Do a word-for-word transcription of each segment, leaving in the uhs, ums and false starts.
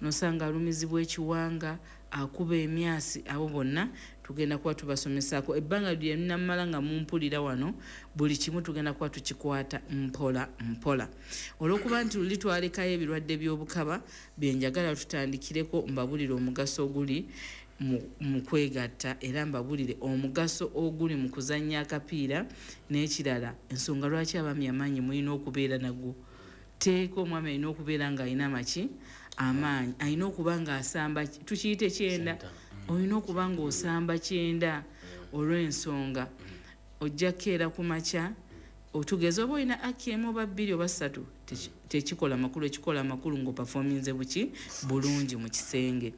Nosanga alumizibwa ekiwanga, akuba emyasi. Abo bonna tugenda kuba tubasomesaako ebbanga lyenamala nga mumpulira wano. Buli kimu tugenda kuba tukikwata mpola mpola. Olwokuba nti luli twalekayo ebirwadde by'obukaba, byenjagala tutandikireko, mbabulire omugaso oguli mu kwegatta, era mbabulire omugaso oguli mu kuzannya akapiira, n'ekirala ensonga lwaki abaami amaanyi mulina okubeera nago. Teeka omwami alina okubeera ng'alina amaki, amaanyi, alina okuba ng'asamba, tukiyite kyenda, olina okuba ng'osamba kyenda, olw'ensonga ojja kukeera ku makya, otugeze oba olina aki emu oba bbiri oba ssatu, tekikola makulu. Ekikola amakulu ng'operforminze buki bulungi mu kisenge.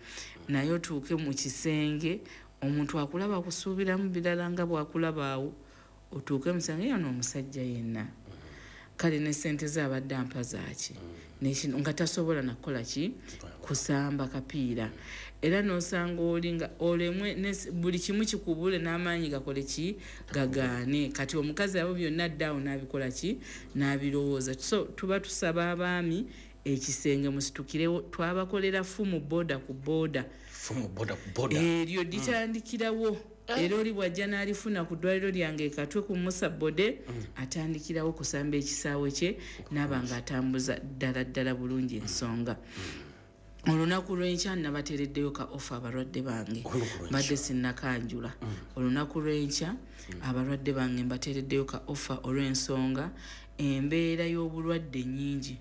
Naye otuuke mu kisenge, omuntu akulaba kusuubiramu birala nga bw'akulaba awo, otuuke mu kisenge yono omusajja yenna kale ne sente ze abadde ampa zaaki, nga tasobola nakukola ki, kusamba kapiira. Era n'osanga oli nga olemwe, buli kimu kikubule, n'amaanyi gakole ki, gagaane. Kati omukazi abo byonna ddaawo n'abikola ki, n'abirowooza. So tuba tusaba abaami ekisenge musitukirewo. Twabakolera fumu boda ku boda, eryo litandikirawo. Era oli bw'ajja n'alifuna ku ddwaliro lyange Katwe ku Musa Bode, atandikirawo kusamba ekisaawe kye, n'aba nga atambuza ddala ddala bulungi ensonga. Olunaku lw'enkya nabateereddeyo ka offer abalwadde bange. Mbadde sinnakanjula. Olunaku lw'enkya abalwadde bange mbateereddeyo ka offer, olw'ensonga embeera y'obulwadde nnyingi,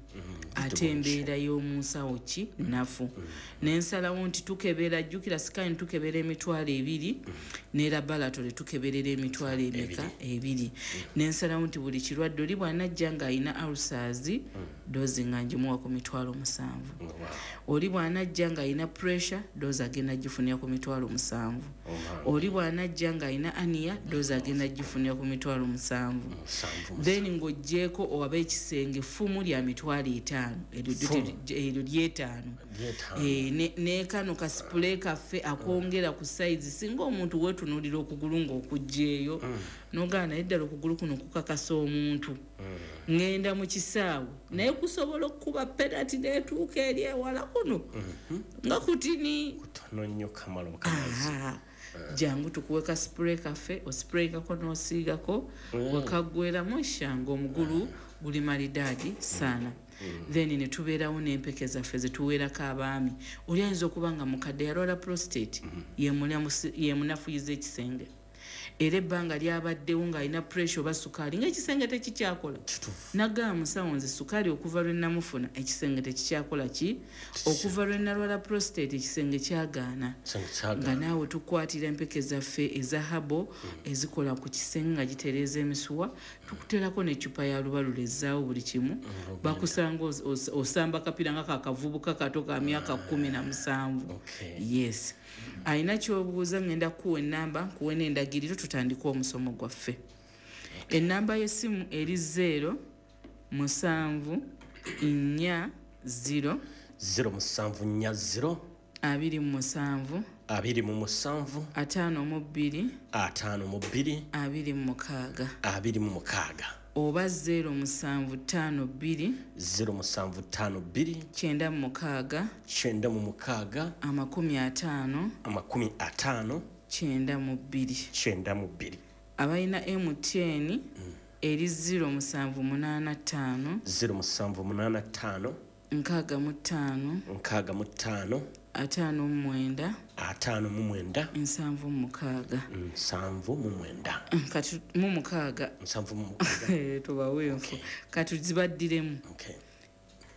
ate embeera y'omunsawo ki nafu. Nensalawo nti tukebera, jjukira scan tukebera emitwalo ebiri, ne laboratory tukeberera emitwalo emeka? Ebiri. Nensalawo nti buli kirwadde, oli bw'anajja ng'alina ulcers, dose nga ngimuwa ku mitwalo musanvu. Oli bw'anajja ng'alina pressure, dose agenda gifunira ku mitwalo musanvu. Oli bw'anajja ng'alina hernia, dose agenda gifunira ku mitwalo musanvu. Then ng'oggyeko owaba ekisenge, ffumu lya mitwalo etaano, eryo lyetaano, nekano ka spray kaffe akwongera ku size. Singa omuntu weetunuulira okugulu ng'okugjeeyo, nogaa naye ddala okugulu kuno kukakasa omuntu ŋŋenda mu kisaawe, naye kusobola okukuba penalty neetuuka eri ewala kuno nga kutini. Jangu tukuwe ka spray kaffe, osprayingako n'osiigako, wekaggweramu eshanga omugulu guli malidaadi saana. Then ne tubeerawo n'empeke zaffe zetuweerako abaami. Oli ayinza okuba nga mukadde, yalwala prostate, yemunafuyiza ekisenge, era ebbanga lyabaddewo ng'alina pressure oba sukaali, ngaekisenge tekikyakola. Nagamba, "Musawo, nze sukaali okuva lwe namufuna ekisenge tekikyakola ki, okuva lwe nalwala prostate ekisenge kyagaana." Nga naawe tukwatira empeke zaffe eza herbal ezikola ku kisenge nga gitereeza emisuwa, tukuterako n'eccupa ya lubalula ezzaawo buli kimu. Bakusanga osamba kapira nga kakavubuka kato ka myaka kumi na musanvu. Yes, alina kyobuuza, ngenda kuwa enamba, nkuwe n'endagiriro, tutandike omusomo gwaffe. Enamba y'essimu eri zero musanvu nnya zero zero musanvu nnya zero abiri mu musanvu abiri mu musanvu ataano mu bbiri ataano mu bbiri abiri mu mukaaga abiri mu mukaaga oba zero musanvu ttaano bbiri zero musanvu ttaano bbiri kyenda mu mukaaga kyenda mu mukaaga amakumi ataano amakumi ataano kyenda mu bbiri. kyenda mu bbiri. Abalina M T N eri zero musanvu munaana ttaano zero musanvu munaana ttaano nkaaga mu ttaano nkaaga mu ttaano ataano mu mwenda ataano mu mwenda nsanvu mu mukaaga. nsanvu mu mwenda. Kati mu mukaaga. Nsanvu mu mukaaga. Tubawe enfu, kati zibaddiremu. Okay.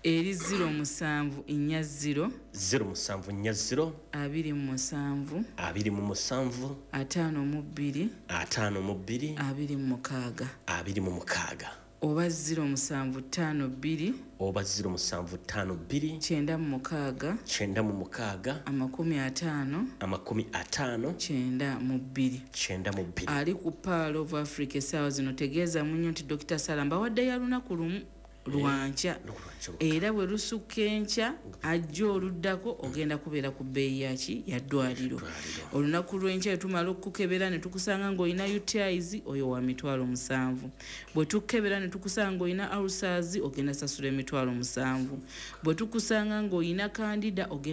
Eri zero musanvu nnya zero zero musanvu nnya zero abiri mu musanvu abiri mu musanvu ataano mu bbiri ataano mu bbiri abiri mu mukaaga abiri mu mukaaga oba zero musanvu ttaano bbiri oba zero musanvu ttaano bbiri kyenda mu mukaaga kyenda mu mukaaga amakumi ataano amakumi ataano kyenda mu bbiri. kyenda mu bbiri. Ali ku Pearl of Africa essaawa zino, tegeeza munyo nti Dokita Sala mbawadde ya lunaku lumu, lwankya, era bwe lusukka enkya ajja oluddako ogenda kubeera ku bbeeyi yaki, ya ddwaliro. Olunaku lw'enkya tumala okukukebera ne tukusanga ng'olina U T Is, oyo wa mitwalo musanvu. Bwe tukukebera ne tukusanga ng'olina ulcers, ogenda sasula emitwalo musanvu. Bwe tukusanga ng'olina candida, ogenda